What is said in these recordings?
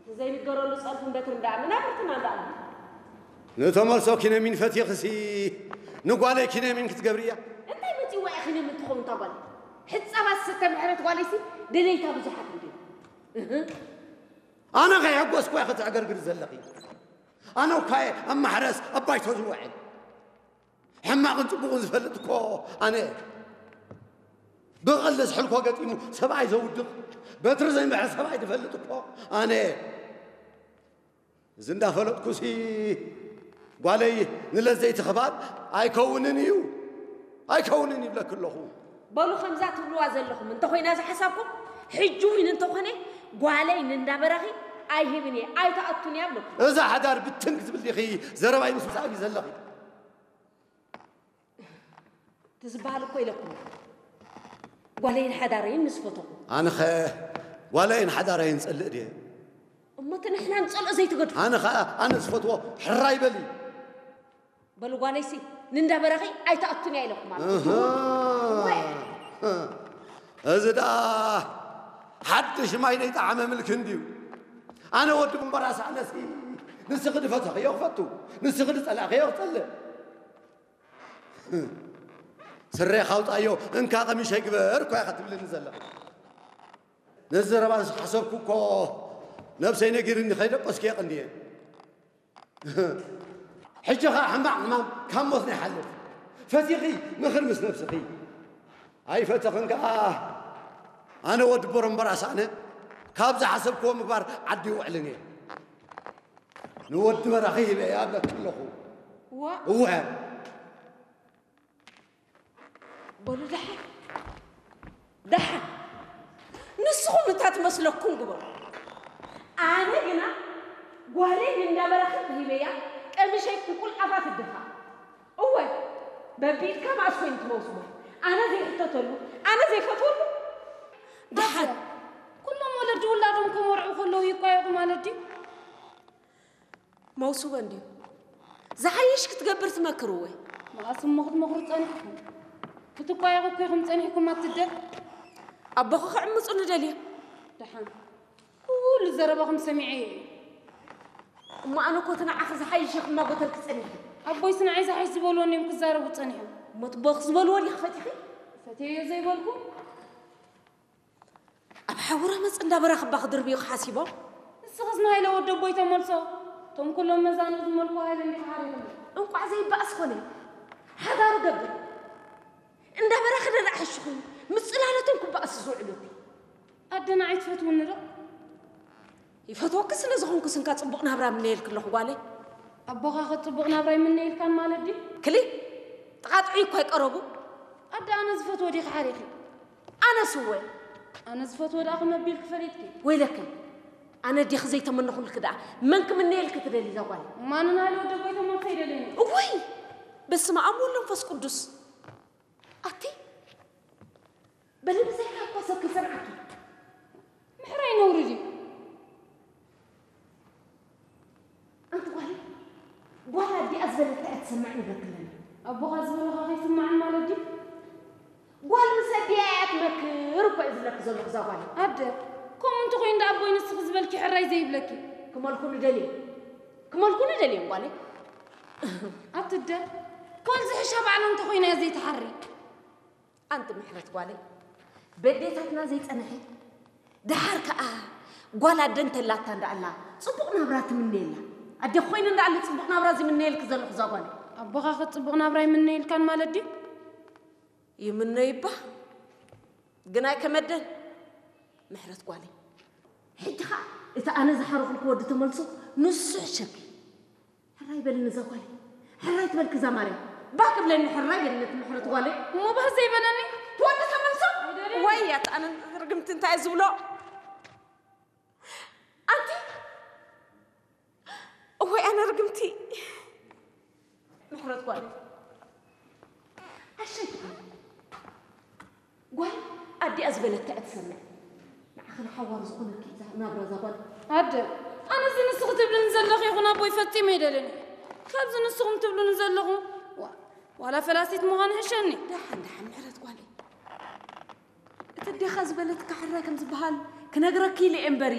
ዘይንገረሉ ጸርፍን በትርን ደኣ መናብርትና ደኣ ኣሎ። ንተመልሶ ኪነሚን ፈቲኽሲ ንጓለይ ኪነሚን ክትገብርያ? እንታይ መጺዋ እያ ኪነሚን ትኸውን እታ ጓል? ሕጻባት ዝስተ ምሕረት ጓለይሲ ደለይታ ብዙሓት እንድዩ። እህ። ኣነ ከይሐጎስኩ እያ ክትዕገርግሪ ዘለኺ። ኣነ እኳ እየ ኣብ ማሕረስ ኣብ ባይቶ ዝውዕል። ሕማቕን ጽቡቕን ዝፈልጥ እኮ ኣነ እየ። ብቐልዲ ዝሕልኮ ገጢሙ ሰብኣይ ዘውድቕ፣ በትሪ ዘይምሕር ሰብኣይ ዝፈልጥ እኮ ኣነ እየ። እዚ እንዳፈለጥኩሲ ጓለይ ንለዘይቲ ክባል ኣይከውንን እዩ፣ ኣይከውንን ይብለኪ ኣለኹ። በሉ ከምዛ ትብልዋ ዘለኹም እንተኾይና ዝሓሳብኩም፣ ሕጂ እውን እንተኾነ ጓለይ ንእንዳበራኺ ኣይህብን እየ፣ ኣይትኣቱን እያ ብለኩም። እዛ ሓዳር ብትን ክትብል ዲኺ ዘረባይ ምስ ምሳብ እዩ ዘለኺ። እቲ ዝበሃል እኮ ኢለኩም። ጓለይን ሓዳረይን ምስ ፈተኹ። ኣነኸ ጓለይን ሓዳረይን ጸልእ ድየ? እሞ እቲ ንሕና ንጸልኦ ዘይትገድፉ። ኣነ ኸኣ ኣነ ዝፈትዎ ሕራይ በሊ። በሉ ጓለይሲ ንእንዳበራኺ ኣይትኣቱን እያ ኢለኩም ማለት እዩ። እህ። ወይ። እዚ ደኣ ሓድሽ ማይ ዘይጠዓመ ምልኪ እንድዩ። ኣነ ወዲ እምበራስ ኣነሲ ንስኺ ድፈተኽዮ ክፈቱ፣ ንስኺ ድጸላእኽዮ ክጸልእ። ስሬ ካውጣዮ እንካ ቀሚሸይ ግበር እኮ ኢኻ ትብልኒ ዘለኻ። ነዚ ዘረባ ሓሰብኩ እኮ ነብሰይ ነጊርኒ ከይደቀስኩ የቐንየ። ሕጂ ኸዓ ሕማቕ ሕማም ካብ ሞት ናይ ሓልፍ። ፈቲኺ ምኽሪ ምስ ነብስኺ። ኣይፈተኽን ከኣ ኣነ ወዲ ቦሮምበራስ ኣነ ካብ ዝሓሰብክዎ ምግባር ዓዲ ይውዕልን እየ። ንወዲ በራኺ ሂበ እየ ኣብለኪ ኣለኹ። ዋ። እወ። በሉ ደሓን፣ ደሓን። ንስኹም እታ ትመስለኩም ግበሩ። ኣነ ግና ጓለይ ንእንዳበራኺ ሂበያ ቀሚሸይ ክቁልዓፋ ትድፋ። እወ፣ በቢኢድካ መኣስ ኮይኑ ትመውስቦ? ኣነ ዘይሕተተሉ፣ ኣነ ዘይፈትወሉ? ደሓን። ኩሎም ወለዲ ውላዶም ከመርዑ ከለዉ ይቋየቑ ማለት ድዩ? መውስቦ እንድዩ። ዝሓይሽ ክትገብር ትመክር እወ። መኣስ እሞ ክትመኽሩ ጸኒሕኩም? ክትቋየቑ እኮ ኢኹም ጸኒሕኩም ኣትደ። ኣቦኺ ክዕምጹ ንደልዮ። ደሓን። ኩሉ ዘረባኹም ሰሚዐዮ እየ። እሞ ኣነ እኮ እቲ ንዓኺ ዝሓይሽ ኢኹም እናጎተልኪ ጸኒሐ። ኣቦይስ ንዓይ ዝሓይሽ ዝበልዎ እንድዮም ክዛረቡ ጸኒሖም። እሞ እቲ ኣቦኺ ዝበልዎ ዲኺ ፈቲኺ? ፈትየዮ ዘይበልኩ? ኣብ ሓዊ ረመጽ እንዳበራኽባ ክድርብዩኺ ሓሲቦም? ንስኽስ ንሃይለ ወዲ ኣቦይ ተመልሶ። እቶም ኩሎም መዛኑ ዝመልኩ ሃይለ እንዲኻ ሓሪኹም። እንቋዕ ዘይበኣስ ኮነ። ሓዳሩ ገብር። እንዳበራኺ ደኣ ሕሽኹ። ምስ ጽላለቶም ክበኣሱ ዝውዕሉ እቲ። ኣደ ንዓይ ትፈትውኒ ዶ? ይፈትወኪ ስለ ዝኾንኩ ስንካ ጽቡቕ ናብራ ምነየልኪ ኣለኹ ጓለይ። ኣቦኻ ኸ ጽቡቕ ናብራ ኣይምነየልካን ማለት ድዩ? ክሊ ጥቓጥዑ እኮ ኣይቀረቡ። ኣደ ኣነ ዝፈትዎ ዲኺ ሓሪኺ? ኣነስ እወ። ኣነ ዝፈትዎ ደኣ ከመቢልኪ ፈሊጥኪ? ወይለከ ኣነ ዲኺ ዘይተመነኹልኪ ደኣ መን ክምነየልኪ ትደሊ እዛ ጓለይ? ማንን ሃይለ ወዲ ኣቦይ ተመልሶ ይደልየኒ። እውይ በስመ ኣብ ወወልድ ወመንፈስ ቅዱስ። ኣቲ በሊ ብዘይካ እኮ ሰብ ከይሰምዓኪ። ምሕራይ ነውሪ ድዩ? ኣንቲ ጓል ጓል ኣዲኣ ዝበለታ እያ ትሰምዕ ይበክለኒ። ኣቦኻ ዝበለኻ ከይስምዓን ማለት ድዩ? ጓል ምስ ኣዲኣ እያ ትመክር እኮ እዩ ዝብለኪ ዘለኹ እዛ ጓል። ኣደ ከምኡ እንተኾይኑ ደኣ ኣቦይ ንስኺ ዝበልኪ ሕራይ ዘይብለኪ። ክመልኩ ንደልዮም ክመልኩ ንደልዮም ጓለይ። ኣቲ ኣደ ጓል ዝሕሻ ባዕላ እንተኾይና እያ ዘይትሓሪ። ኣንቲ ምሕረት ጓለይ በዴታትና ዘይጸንሐ ደሓር ከኣ ጓል ኣደ እንተላታ እንዳኣላ ጽቡቕ ናብራ ትምነየላ። ኣደ ኮይነ እንዳኣለ ጽቡቕ ናብራ ዝምነየልኪ ዘለኹ እዛ ጓለይ። ኣቦኻ ከ ጽቡቕ ናብራ ይምነየልካን ማለት ድዩ? ይምነይባ ግን ኣይከመደን። ምሕረት ጓለይ ሕጂ ኸኣ እቲ ኣነ ዝሓረኹልኩ ወዲ ተመልሶ ንሱ ሕሸኪ። ሕራይ በልኒ እዛ ጓለይ። ሕራይ ትበልኪ እዛ ማርያም። ባህ ክብለኒ ሕራይ በልኒ እቲ ምሕረት ጓለይ። እሞ ባህ ዘይበለኒ ትወዲ ተመልሶ። ወይ ኣቲ ኣነ ርግምቲ እንታይ ዝብሎ? ኣንቲ እወይ ኣነ ርግምቲ። ምሕረት ጓለይ ኣሸይ ትኾኒ። ጓል ኣዲኣ ዝበለታ እያ ትሰምዕ። ንዓኺ ንሓዋሩ ዝኾነኪ እዛ ናብራ እዛ ጓል። ኣደ ኣነዚ ንስኺ ትብልኒ ዘለኺ ይኹን ኣቦይ ፈጺመ ኣይደልን። ካብዚ ንስኹም ትብሉኒ ዘለኹም ዋ- ዋላ ፈላሲት ምዃን ይሕሸኒ። ደሓን ደሓን ምሕረት ጓለይ። እቲ ኣዴኻ ዝበለትካ ሕራይ ከም ዝበሃል ክነግረኪ ኢለ እየ እምበሪ።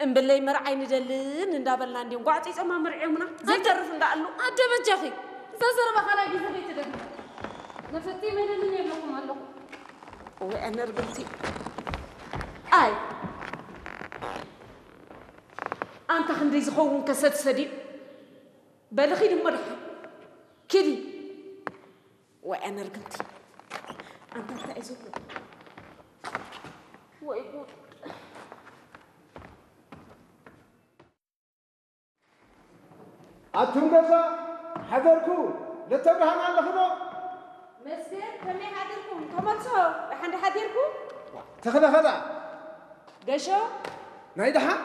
እምበለይ መርዓይ ንደልን እንዳበልና እንዲም ጓዕፂፀማ መርዒሙና ዘይተርፍ እንዳኣሉ። ኣደ በጃኺ፣ እዛ ዘረባ ካልኣይ ግዜ ከይትደግሚ። መፈትሒ መደልን የብለኩም ኣለኹ። ወይ ኣነርግምቲ። ኣይ፣ ኣንታ ክንደይ ዝኸውን ከሰድ ሰዲድ። በሊ ኺዲ እሞ ደሓን። ኪዲ። ወይ ኣነርግምቲ። ኣንታ እንታይ እዩ ዝብሎ? ወይ ጉድ። ኣቱም ገዛ ሓደርኩ፣ ለተብርሃን ኣለኹ ዶ? መስገን፣ ከመይ ሓደርኩም? ተመልሶ፣ ደሓን ዶ ሓዲርኩ? ተኽለ ኸላ? ገሾ? ናይ ደሓን?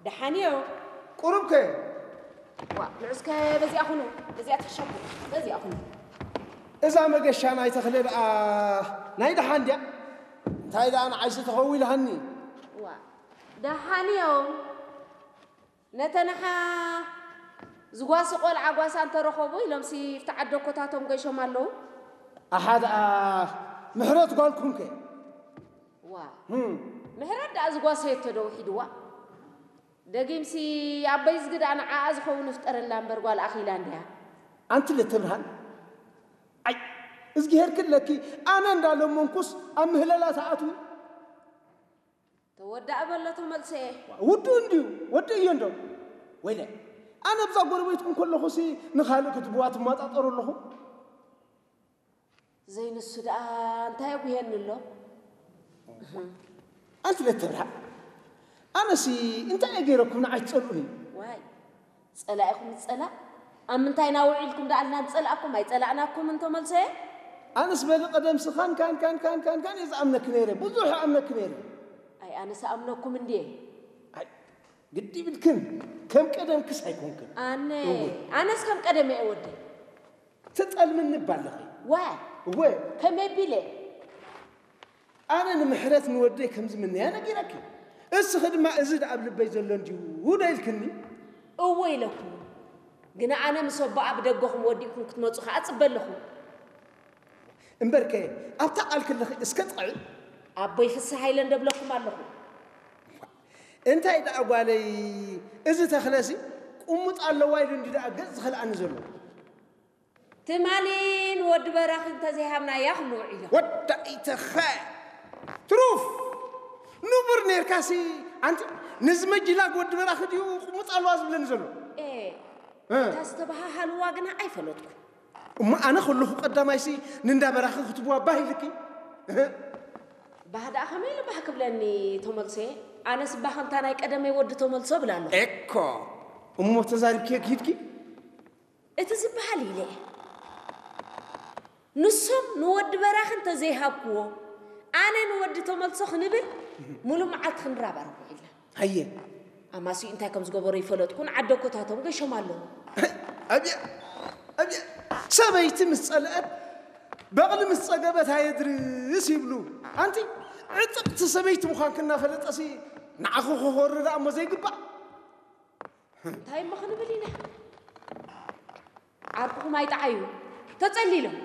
ደሓን እዮ። ቁሩብ ከ? ዋ፣ ንዑስከ በዚኣ ኩኑ፣ በዚኣ ትሕሸኩ፣ በዚኣ ኩኑ። እዛ መገሻ ናይ ተኽለ ደኣ ናይ ደሓን ድያ? እንታይ ደኣ ንዓይሲ ተኸዊልሃኒ? ዋ፣ ደሓን እዮም። ነተንሓ ዝጓሲ ቆልዓ ጓሳ እንተረኸቡ ኢሎምሲ፣ ፍቲ ዓደኮታቶም ገሾም ኣለዉ። ኣሓ ደኣ ምሕረት ጓልኩም ከ? ዋ፣ ህም። ምሕረት ደኣ ዝጓሰየቶ ዶ ውሒድዋ? ደጊምሲ ኣበይ ዝግዳ ንዓኣ ዝኸውን ይፍጠረላ እምበር፣ ጓል ኣኺላ እንድያ። ኣንቲ ለተብርሃን፣ ኣይ፣ እዝጊሄር ክለኪ፣ ኣነ እንዳለመንኩስ ኣብ ምህለላ ትኣትዊ። ተወዳእ በሎ ተመልሰ። ውዱእ እንድዩ፣ ወዲ እዮ እንዶ። ወይለ፣ ኣነ ብዛ ጎረቤትኩም ከለኹሲ ንኻልእ ክትብዋ ትማጣጠሩ ኣለኹ። ዘይንሱ ደኣ እንታይ ኣጉሄኒ ኣሎ? ኣንቲ ለተብርሃን፣ ኣነሲ እንታይ እየ ገይረኩም ንዓይ ትጸልኡኒ? ዋይ፣ ጸላኢኹም ዝጸላእ፣ ኣብ ምንታይ ናውዒልኩም ደኣልና ንጸላእኩም፣ ኣይጸላእናኩምን ተመልሰ። ኣነስ በሊ ቀደምሲ ካን፣ ካን፣ ካን፣ ካን፣ ካን፣ ካን እየ ዝኣምነኪ ነይረ፣ ብዙሕ እኣምነኪ ነይረ። ኣይ፣ ኣነስ ኣምነኩም እንድየ። ኣይ፣ ግዲ ይብልክን፣ ከም ቀደምክስ ኣይኮንክን። ኣነ፣ እወ። ኣነስ ከም ቀደም እየ ወደይ። ትጠልምኒ እባ ኣለኺ። ዋይ፣ እወ። ከመይ ቢለ? ኣነ ንምሕረት ንወደይ ከም ዝምነያ ነጊረኪ። እስኺ ድማ እዚ ደኣ ኣብ ልበይ ዘሎ እንድዩ ዶ ኢልክኒ? እወ ኢለኩ። ግና ኣነ ምስ ኣቦኣ ብደገኹም ወዲእኩም ክትመጹ ከኣ እጽበ ኣለኹ። እምበርከ ኣብታ ቃል ክለኺ እስከ ጥቕዒ። ኣቦይ ፍስሃ ኢለ እንደብለኩም ኣለኹ። እንታይ ደኣ ጓለይ፣ እዚ ተኽለሲ ቁሙጥ ኣለዋ ኢሉ እንዲ ደኣ ገጽ ዝኸልኣኒ ዘሎ። ትማሊ ንወዲ በራኺ እንተዘይሃብናያ ክብሉ ውዒሎም። ወዳ ኢተኸ ትሩፍ ንቡር ኔርካሲ፣ ኣንቲ፣ ነዚ መጅላግ ወዲ በራኺ ድዩ ቁሙጥ ኣለዋ ዝብለኒ ዘሎ? ኤ፣ እ። እታ ዝተበሃሃልዋ ግና ኣይፈለጥኩ። እሞ ኣነ ከለኹ ቀዳማይሲ ንንዳ በራኺ ክትብዋ ባህ ኢልኪ? እህ። ባህ ደኣ ከመይ ኢሉ ባህ ክብለኒ ተመልሰ? ኣነስ ባህ ከምታ ናይ ቀደመይ ወዲ ተመልሶ እብል ኣለኹ። ኤኮ፣ እሞ ተዛሪብኪ ኪድኪ? እቲ ዝበሃል ኢለ። ንሶም ንወዲ በራኺ እንተዘይሃብክዎ፣ ኣነ ንወዲ ተመልሶ ክንብል፣ ሙሉእ መዓልቲ ክንራባረብ ውዒልና። ሃየ። ኣማስዩ እንታይ ከም ዝገበሩ ይፈለጥኩን፣ ዓደኮታቶም ገሾም ኣለዉ። ኣብየ፣ ኣብየ፣ ሰበይቲ ምስ ጸልአት፣ በቕሊ ምስ ጸገበት ኣየድርስ ይብሉ። ኣንቲ፣ ዕጥቕቲ ሰበይቲ ምዃንኪ እናፈለጠሲ፣ ንዓኺ ክኾሪ ደኣ እሞ ዘይግባእ። እንታይ እሞ ክንብል ኢና? ዓርኩኹም ኣይጠዓዩ። ተጸሊሎም።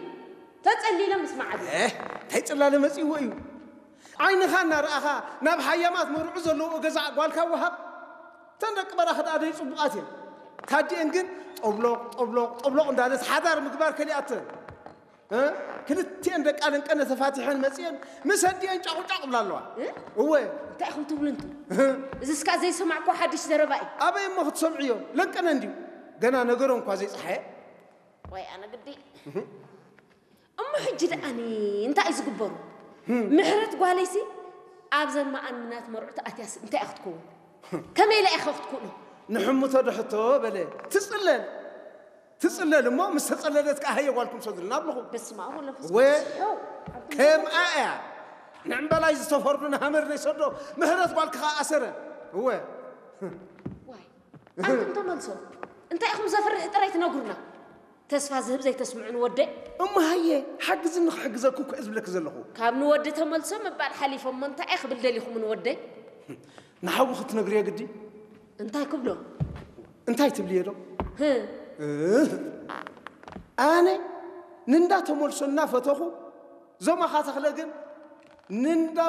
ተጸሊሎም ምስ መዓዱ። ኤህ፣ እንታይ ጽላለ መጺእዎ እዩ? ዓይንኻ እናረኣኻ ናብ ሃያማት መርዑ ዘለዎ ገዛ ጓልካ ወሃብ። እተን ደቂ በራኺ ደኣ ደይ ጽቡቓት እየን። ታዲአን ግን ጠብሎቕ፣ ጠብሎቕ፣ ጠብሎቕ እንዳለት ሓዳር ምግባር ከሊኣተን። እ? ክልቲኤን ደቂ ኣለንቀነ ተፋቲሐን መጺአን ምስ ኣዲአን ጫቑጫቕ ብላ ኣለዋ። እ? እወ። እንታይ ኢኹም ትብሉ እንቱ? እ? እዚ እስካ ዘይሰማዕኩ ሓድሽ ዘረባ እዩ። ኣበይ እሞ ክትሰምዕዮ? ለንቀነ እንድዩ። ገና ነገሮም እኳ ዘይጸሓየ። ወይ ኣነ ግዲ። እሞ ሕጂ ደኣኒ እንታይ እዩ ዝግበሩ? ምሕረት ጓለይሲ ኣብዘን መኣንናት መርዑ ተኣትያስ እንታይ እያ ክትከውን? ከመይ ኢላ ኢኻ ክትክእሎ? ንሕምቶ ዶ ሕቶ በለ። ትጽለል። ትጽለል እሞ ምስ ተጸለለት ከኣ ሃየ ጓልኩም ሰዱልና ኣብልኹ። በስመ ኣብ ወመንፈስ ወ-፣ ቅዱስ። ይኸው፣ ኣብቲ ከምኣ እያ። ንዕምበላይ ዝተፈርዱ ንሃመር ዘይሰዶ ምሕረት ጓልኪ ከኣ ኣሰረ። እወ። ዋይ፣ ኣንቱም ተመልሶ። እንታይ ኢኹም ዘፍርሕ ጥራይ ትነግሩና? ተስፋ ዝህብ ዘይተስምዑን ወደይ? እሞ ሃየ፣ ሓግዝኒ ክሕግዘኩ እኮ እየ ዝብለኪ ዘለኹ። ካብ ንወዲ ተመልሶ ምባል ሓሊፎም እሞ እንታይ እየ ክብል ደሊኹም ንወደይ? ንሓዊ ክትነግርዮ ግዲ? እንታይ ክብሎ? እንታይ ትብልዮ ዶ? ህ። እህ። ኣነ ንንዳ ተመልሶ እናፈተኹ፣ ዞማኻ ተኽለ ግን ንንዳ